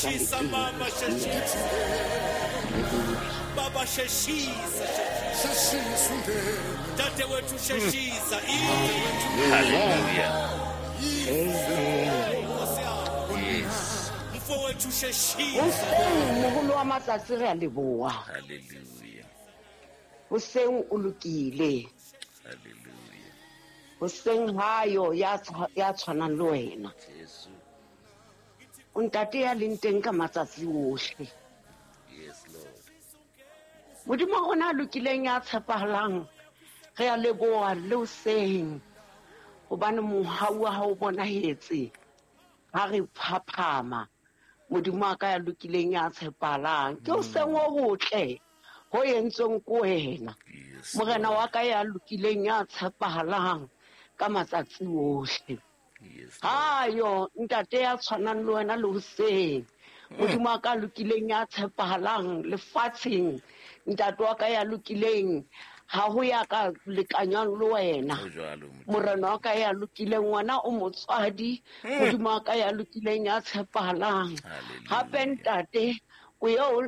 Sheshisa teng. mama sheshisa. Baba sheshisa sheshisa. Dadewethu sheshisa. Hallelujah. Amen. Yes. Mfowethu sheshisa. Hoseng moholo wa matsatsi re a leboha. Hallelujah. Hoseng o lokile. Hallelujah. Hoseng hayo ya ya tshwanang le wena. Jesu. O ntate ya leng teng ka matsatsi ohle. Yes, Lord. Modimo wa rona a lokileng ya tshepahalang, re a leboha le hoseng hobane mohau wa hao o bonahetse ha re phaphama. Modimo wa ka ya lokileng ya tshepahalang, ke hoseng o hotle ho entsweng ke wena. Yes. Morena wa ka ya lokileng ya tshepahalang ka matsatsi ohle. Yes. Hayo ntate ya tshwanang le wena le hoseng. Modimo wa ka lokileng ya tshepahalang lefatsheng, ntate wa ka ya lokileng ha ho ya ka lekanywang le wena. Ho jwalo, Modimo. Morena wa ka ya lokileng, wena o motswadi. Modimo wa ka ya lokileng ya tshepahalang. Hallelujah. Hape ntate, o eo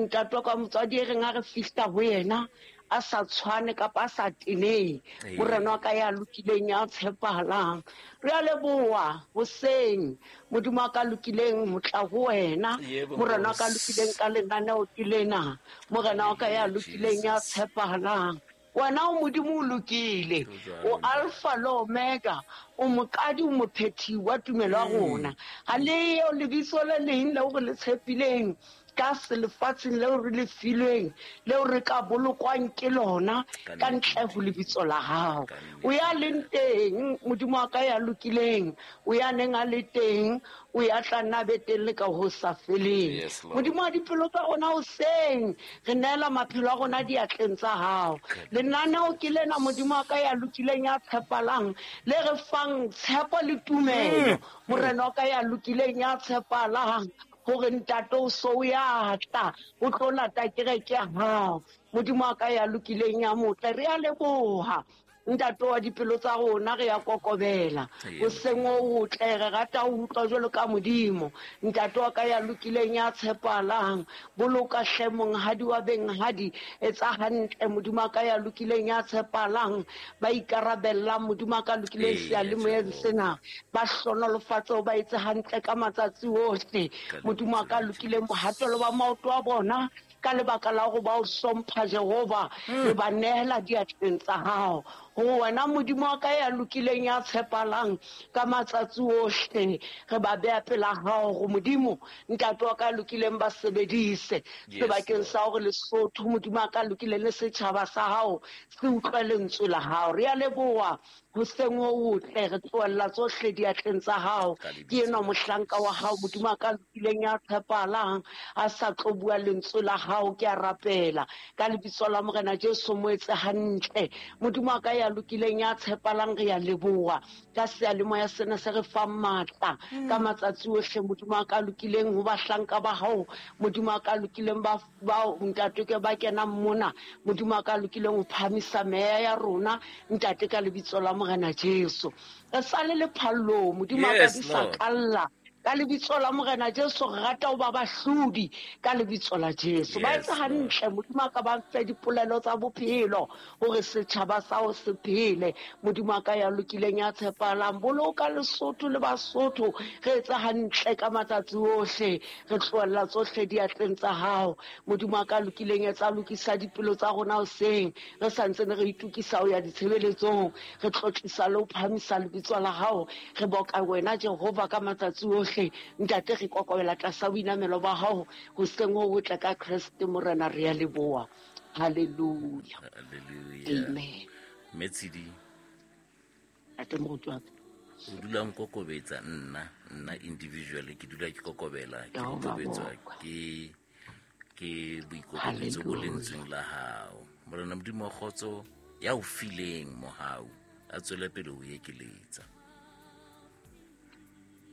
ntate wa ka motswadi e reng ha re fihla ho yena a sa tshwane kapa a sa tenehe. Ee. Morena wa ka ya lokileng ya tshepahalang, re a leboha hoseng. Modimo wa ka lokileng ho tla ho wena. Yebo, Morena wa ka Nkosi. lokileng ka lenaneo ke lena. Morena wa ka ya lokileng ya Jesus. tshepahalang, wena o Modimo o lokile, Ho jwalo, o Alpha le Omega, o moqadi o mophethi wa tumelo ya rona. Ha le eo lebitso le leng leo re le tshepileng ka selefatsheng leo re le filweng, leo re ka bolokwang ke lona Ka ka nnete. ntle ho lebitso la hao. Ka nnete. O ya leng teng, Modimo wa ka ya lokileng, o ya neng a le teng, o ya tla nna be teng le ka ho sa feleng. Yes, Lord. Modimo wa dipelo tsa rona hoseng, re neela maphelo a rona diatleng tsa hao. Lenaneo ke lena, Modimo wa ka ya lokileng ya tshepalang, le re fang tshepo le tumelo. Morena wa ka ya lokileng ya tshepalang, hore ntate o so o ya tla, o tlo lata kereke ya hao. Modimo wa ka ya lokileng ya motle, re a leboha. Ntate wa dipelo tsa rona, re ya kokobela. Yebo. Hoseng o otle, re rata ho utlwa jwalo ka Modimo. Ntate wa ka ya lokileng ya tshepahalang, boloka hle monghadi wa benghadi, etsa hantle Modimo wa ka ya lokileng ya tshepahalang, ba ikarabellang Modimo wa ka lokileng Ee, seyalemoyeng Jehova. sena, ba hlonolofatse, ba etse hantle ka matsatsi ohle. Ka Modimo wa ka lebitso la lokileng, Jesu. bohatelo ba maoto a bona ka lebaka la hore ba o hlompha Jehova, re ba nehela diatleng tsa hao. Ho wena Modimo wa ka ya lokileng ya tshepahalang ka matsatsi ohle, re ba beha pela hao hore Modimo ntate wa ka ya lokileng ba sebedise Yes, sebakeng Lord. sa hore Lesotho Modimo wa ka lokileng le setjhaba sa hao se utlwe lentswe la hao. Re a leboha hoseng ho hotle, re tlohella tsohle diatleng tsa hao. Ka lebitso Ke enwa la mohlanka wa hao Modimo wa ka lokileng ya tshepahalang, a sa tlo bua lentswe la hao, ke a rapela ka lebitso la Morena Jesu, mo etse hantle. Modimo wa ka ya lokileng ya tshepahalang, re a leboha ka seyalemoya sena se re fang matla ka matsatsi ohle. Modimo wa ka lokileng ho bahlanka ba hao, Modimo wa ka lokileng ba ntate ke ba kenang mona, Modimo wa ka lokileng ho phahamisa meya ya rona ntate ka lebitso la Morena Jesu. Re sale le phallong, Modimo wa ka Yes, di sa Lord. kalla ka lebitso la Morena Jesu, re rata ho ba bahlodi ka lebitso la Jesu. Ba Yes, etse Lord. hantle Modimo wa ka, ba mfe dipolelo tsa bophelo hore setjhaba sa ho se phele. Modimo wa ka ya lokileng ya tshepahalang, boloka Lesotho le Basotho, re etse hantle ka matsatsi ohle, re tlohella tsohle diatleng tsa hao. Modimo wa ka lokileng, etsa lokisa dipelo tsa rona hoseng, re sa ntse re itokisa ho ya ditshebeletsong, re tlotlisa le ho phahamisa lebitso la hao, re boka wena Jehova ka matsatsi ohle. Ntate, re kokobela tlasa boinamelo ba hao hoseng ho hotle ka Kreste Morena, re a leboha. Hallelujah. Hallelujah. Amen. Mme Tshidi, Ntate moruti wa ka. o dula o nkokobetsa nna individually, ke dula ke kokobela, ke Ya ho ba kokobetswa boka. ke boikokobetso bo Hallelujah. lentsweng la hao. Morena Modimo wa kgotso ya o fileng mohau, a tswele pele ho ekeletsa.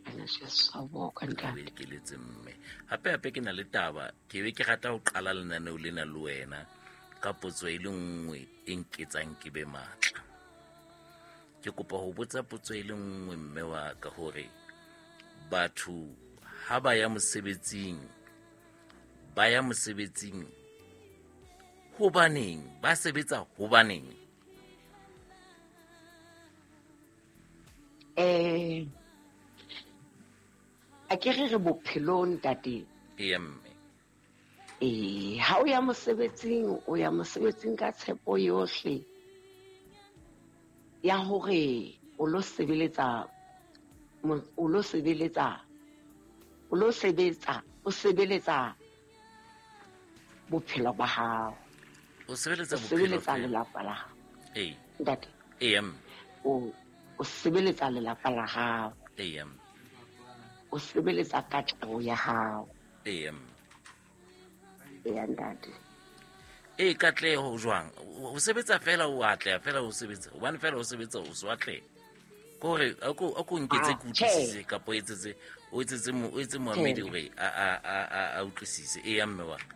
Morena Jesu a boka O ntate. ekeletse mme. Hape hape ke na le taba, ke be ke rata ho qala lenaneo lena le wena ka potso e le nngwe e nketsang ke be matla. Ke kopa ho botsa potso e le nngwe mme wa ka hore batho ha ba ya mosebetsing, ba ya mosebetsing hobaneng? Ba sebetsa hobaneng? A ke re bophelong ntate. Ee mme. Ha o ya mosebetsing, o ya mosebetsing ka tshepo yohle ya hore o lo sebeletsa, o sebeletsa bophelo ba hao. O sebeletsa bophelo lelapa la hao. Ee. Ntate. Ee mme. O sebeletsa lelapa la hao. Ee mme. O sebeletsa katleho ya hao. Ee mme. Ee ntate. E katleho jwang? O sebetsa fela o atleha fela o sebetsa. Hobane fela o sebetsa o so atleha. Kore a ko nketse ke utlwisise kapa o etse moamedi hore a utlwisise. Ee mme wa ka.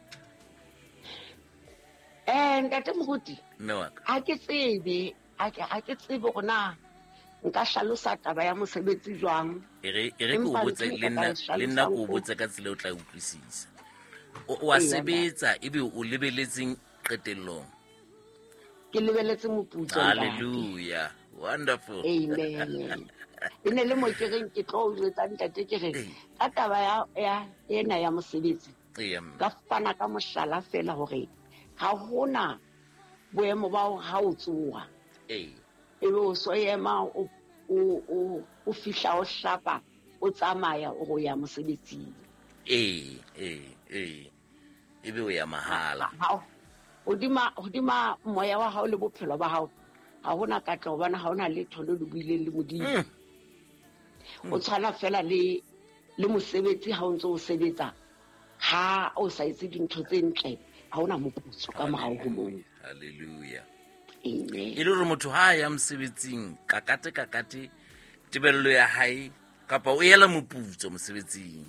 Ntate Moruti. Mme wa ka. Ha ke tsebe, ha ke tsebe hore na nka hlalosa taba ya mosebetsi jwang. E re ke o botse le nna ke o botse ka tsela o tla utlwisisa. O a sebetsa ebe o lebeletseng qetellong. Ke lebeletse moputso. Hallelujah. Wonderful. Amen. E ne le mo ke reng ke tlo o jwetsa ntate ke re ka taba ya ena ya mosebetsi. Ka fana ka mohlala fela hore ha hona boemo ba hore ha o tsoha. Ee. Ebe o so ema o fihla o hlapa o tsamaya o ya mosebetsing. Ee. Ebe o ya mahala. Hodima moya wa hao le bophelo ba hao ha hona katleho hobane ha hona letho le le buileng le Modimo. O tshwana fela le mosebetsi ha o ntse o sebetsa, ha o sa etse dintho tse ntle ha hona moputso ka morao ho moo. Hallelujah. Amen. E le hore motho ha ya mosebetsing kakate tebello ya hae kapa o ela moputso mosebetsing.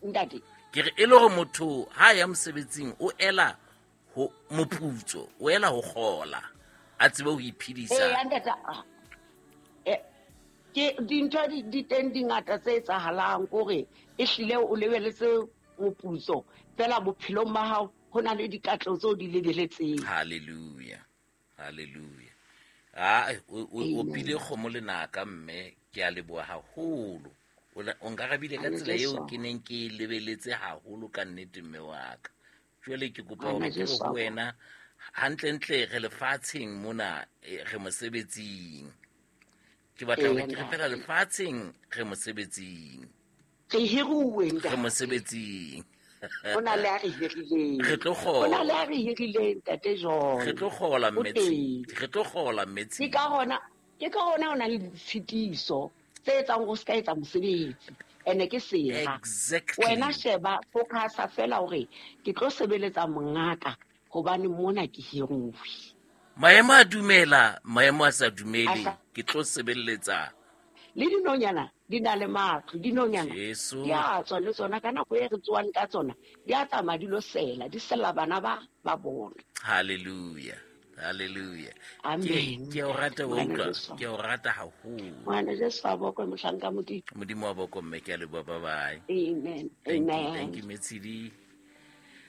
Ntate. Ke re e le hore motho ha ya mosebetsing o ela ho moputso, o ela ho kgola, a tsebe ho iphedisa. Ee ntate. Ke dintho di teng di ngata tse etsahalang kore e hlile o lebeletse moputso fela bophelong ba hao ho na le dikatleho tseo di lebeletseng. Hallelujah. Hallelujah. O pile kgomo lenaka mme ke a leboha haholo. O nkarabile ka tsela eo ke neng ke lebeletse haholo ka nnete mme wa ka. Jwale ke kopa hore ke ho wena hantlentle re lefatsheng mona re mosebetsing. Ke batla hore ke re fela lefatsheng re mosebetsing. Re hiruwe ntate. Re mosebetsing. Ho na le a re hirileng. Re tlo kgola. Ho na le a re hirileng ntate John. Re tlo kgola mmetsi. Re tlo kgola mmetsi. Ke ka hona o na le ditshitiso tse etsang go ska etsa mosebetsi. Ene ke sera. Exactly. Wena sheba focusa fela hore ke tlo sebeletsa mongaka hobane mona ke hiruwe. Maemo a dumela, maemo a sa dumele, ke tlo sebeletsa. Le dinonyana di na le matlo, dinonyana di a tswa le tsona ka nako e re tswang ka tsona, di a tsamaya di lo sela, di sela bana ba bona. Hallelujah. Hallelujah. Amen. Ke o rata wa utlwa, ke o rata haholo. Ngwana Jesu a bokwe mohlanka Modimo. Modimo wa bokwe mme ke a leboha, bye bye. Amen. Amen. Thank you Metshidi.